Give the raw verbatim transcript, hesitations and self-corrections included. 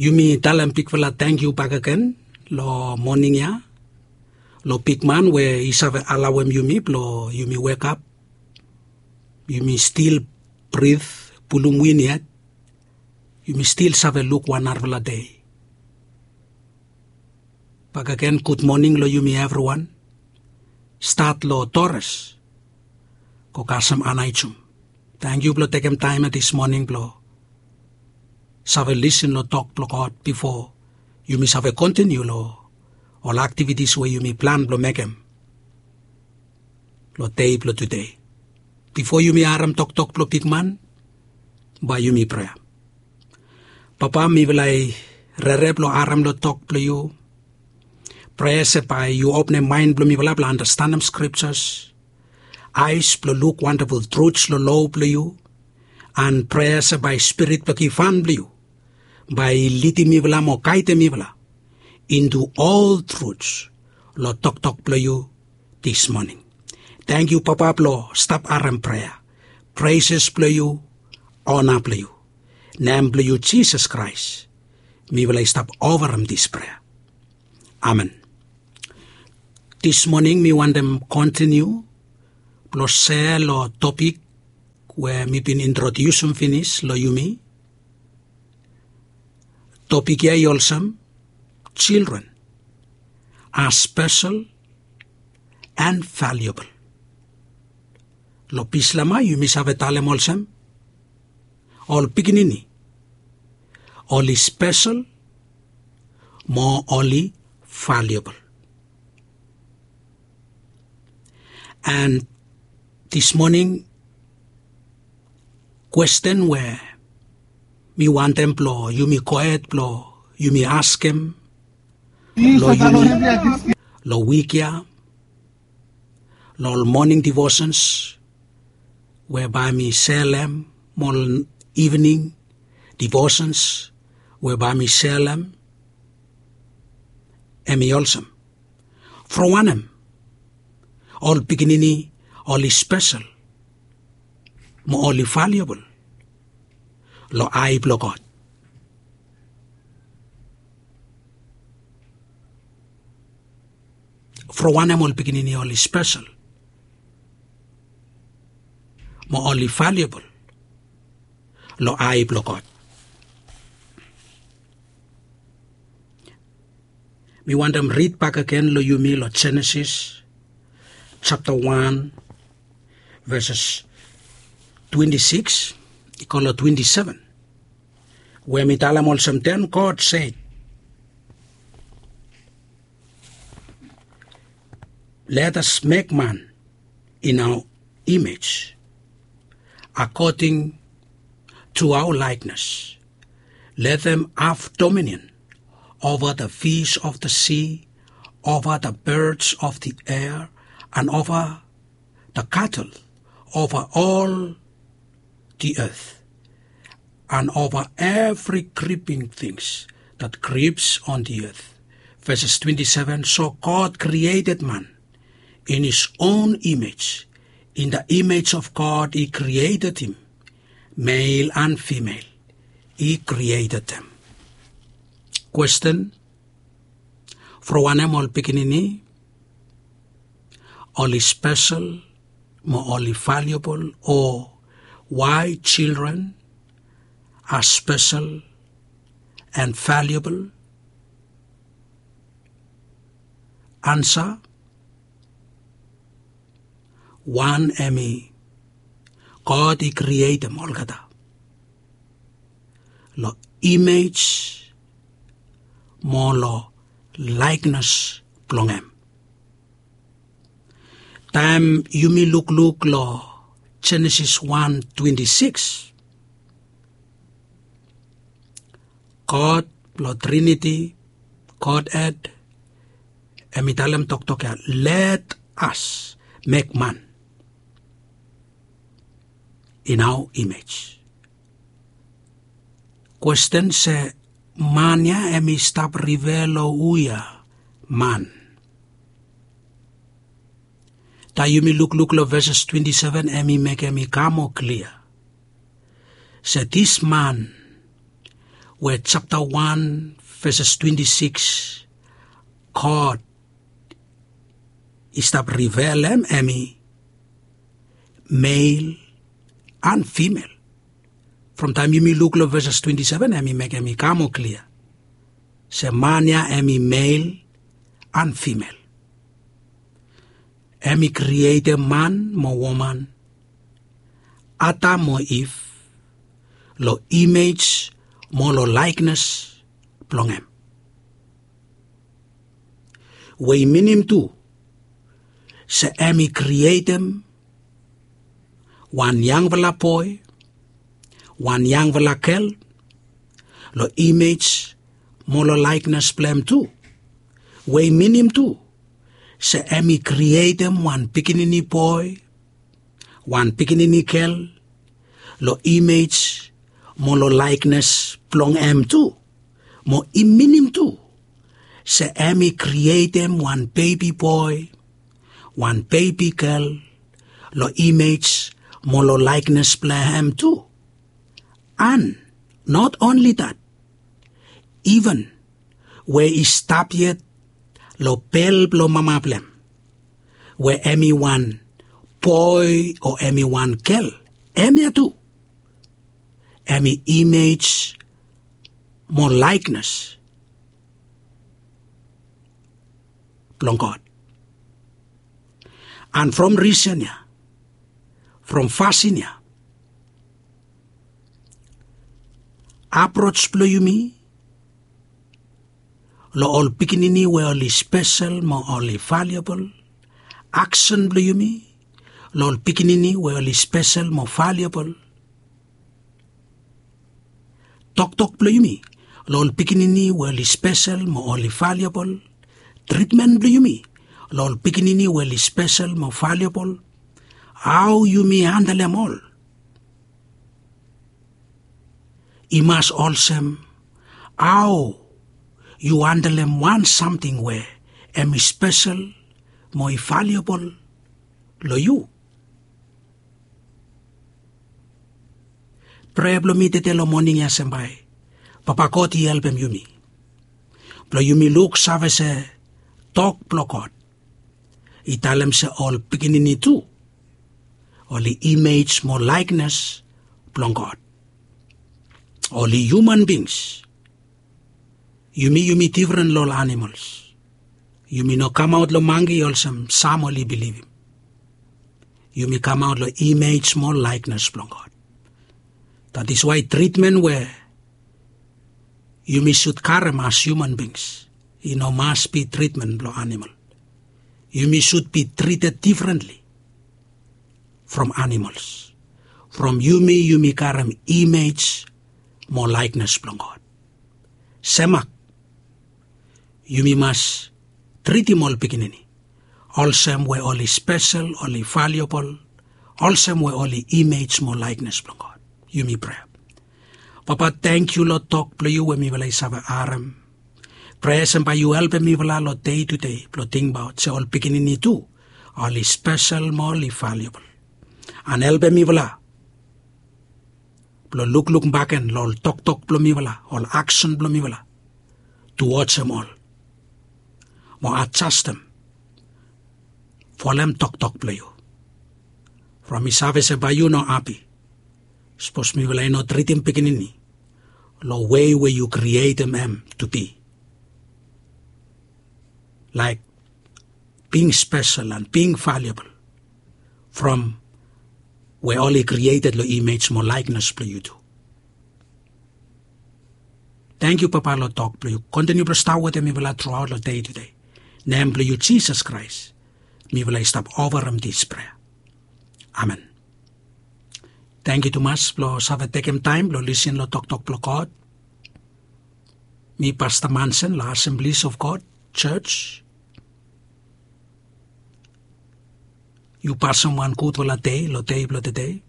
Yumi talem bigfala tangkiu bakegen long moning ya long bigman we i save alawem yumi blong yumi wekap, yumi stil brit, pulum win yet, yumi stil save luk wan narafala dei. Bakegen gudmoning long yumi evriwan. Stat long Doris go kasem Anaijum. Tangkiu blong tekem taem ya dis moning blong save lisin long tok blong God bifo yumi save kontiniu long ol aktivitis we yumi plan blong mekem long dei blong tude. Bifo yumi harem toktok blong bigman, bae yumi prea. Papa, mifala i rere blong harem long tok blong yu. Prea se bae yu openem maen blong mifala blong anastenem skriptas, aes blong luk wandaful truts long lo blong yu. An prea se bae Spirit blong givhan blong yu bae i lidim mifala mo gaedem mifala intu ol truts long toktok blong yu dis moning. Tangkiu Papa blong stap harem prea. Preses blong yu, ona blong yu. Nem blong yu Jisas Kraes mifala i stap ofarem dis prea. Amen. Dis moning mi wantem kontiniu blong sea long topik we mi bin introdiusim finis long yumi. Topik ya i olsem, children are special and valuable. Long Bislama yumi save talem olsem, ol pikinini oli spesel mo oli valiabol. And this morning, kwesten we mi wantem blong yumi gohed blong yumi askem long yumi long wik ya, long ol moning divosens we bae mi selem, mo ol ivening divosens we bae mi selem, hemi olsem, from wanem ol pikinini oli spesel mo oli valiabol long ae blong God? From wanem ol pikinini oli spesel mo oli valiabol long ae blong God? Mi wantem rid bakegen long yumi long Jenesis japta wan, veses twenti sikis i go long twenti seven, we mi talem olsem, then God said, let us make man in our image, according to our likeness. Let them have dominion over the fish of the sea, over the birds of the air, and over the cattle, over all the earth, and over every creeping things that creeps on the earth. Verses twenty-seven, so God created man in his own image. In the image of God, he created him. Male and female, he created them. Kwesten, from wanem ol pikinini oli spesel mo oli valiabol, o why children are special and valuable? Ansa, wan hemi God i krietem olgeta long imej mo long laeknes blong hem. Taem yumi lukluk long Jenesis wan twenti sikis, God blong Triniti, Godhed, hemi talem toktok ya, let us make man in our image. Kwesten se, man ya hemi stap rifea long hu ya man? Taem yumi lukluk long veses twenti seven, hemi mekem i kam moa klia se this man we japta wan veses twenti sikis, God i stap rivelem hemi mel an fimel. From taem yumi luk long veses twenti seven, hemi mekem i kam moa klia se man ya hemi mel an fimel. Hemi krietem man mo woman, Adam mo Iv, long imej mo long laeknes blong hem. We i minim tu se hemi krietem wan yangfala boe, wan yangfala gel, long imej mo long laeknes blong hem tu. We i minim tu se hemi krietem wan pikinini boe, wan pikinini gel, long imej mo long laeknes blong hem tu. Mo i minim tu se hemi krietem wan bebi boe, wan bebi gel, long imej mo long laeknes blong hem tu. An not only that, iven we i stap yet long bel blong mama blong hem, we hemi wan boe o hemi wan gel, hemia tu hemi imej mo laeknes blong God. An from risen ya, from fasin ya, aproj blong yumi long ol pikinini we oli spesel mo oli valiabol, aksen blong yumi long ol pikinini we oli spesel mo valiabol, toktok blong yumi long ol pikinini we oli spesel mo oli valiabol, tritmen blong yumi long ol pikinini we oli spesel mo valiabol, hao yumi handlem ol. I mas olsem hao yu handlem wan samting we hemi spesel mo i valiabol long yu. Prea blong mi tede long moning ya se bae Papa God i helpem yumi blong yumi luksave se tok blong God i talem se ol pikinini tu oli imej mo laeknes blong God. Oli hiuman bings. Yumi, yumi defren long ol animols. Yumi no kamaot long mangi olsem sam oli bilivim. Yumi kamaot long imej mo laeknes blong God. That is why tritmen we yumi sud karem as hiuman bings i no mas bi tritmen blong animol. Yumi sud bi trited difrentli from animols. From yumi, yumi karem imej mo laeknes blong God. Semak, yumi mas tritim ol pikinini olsem we oli spesel, oli valiabol, olsem we oli imej mo laeknes blong God. Yumi prea. Papa, tangkiu long tok blong yu we mifala i save harem. Prea se bae yu helpem mifala long dei tude blong tingbaot se ol pikinini tu oli spesel mo oli valiabol. An helpem mifala blong lukluk bakegen long ol toktok blong mifala, ol aksen blong mifala, tu wajem ol mo adjastem folem toktok blong yu. From mi save se bae yu no hapi sapos mifala i no tritim pikinini long wei we yu krietem hem tu bi, laek bing spesel an bing valiabol from we oli krieted long imej mo laeknes blong yu tu. Tangkiu Papa long tok blong yu. Kontiniu blong stap wetem mifala truaot long dei tude. Nem blong yu Jisas Kraes mifala i stap ofarem dis prea. Amen. Tangkiu tumas blong save tekem taem blong lisin long toktok blong God. Mi Pasta Mansen long Assemblies of God Church. Yu pasem wan gudfala dei long dei blong tede.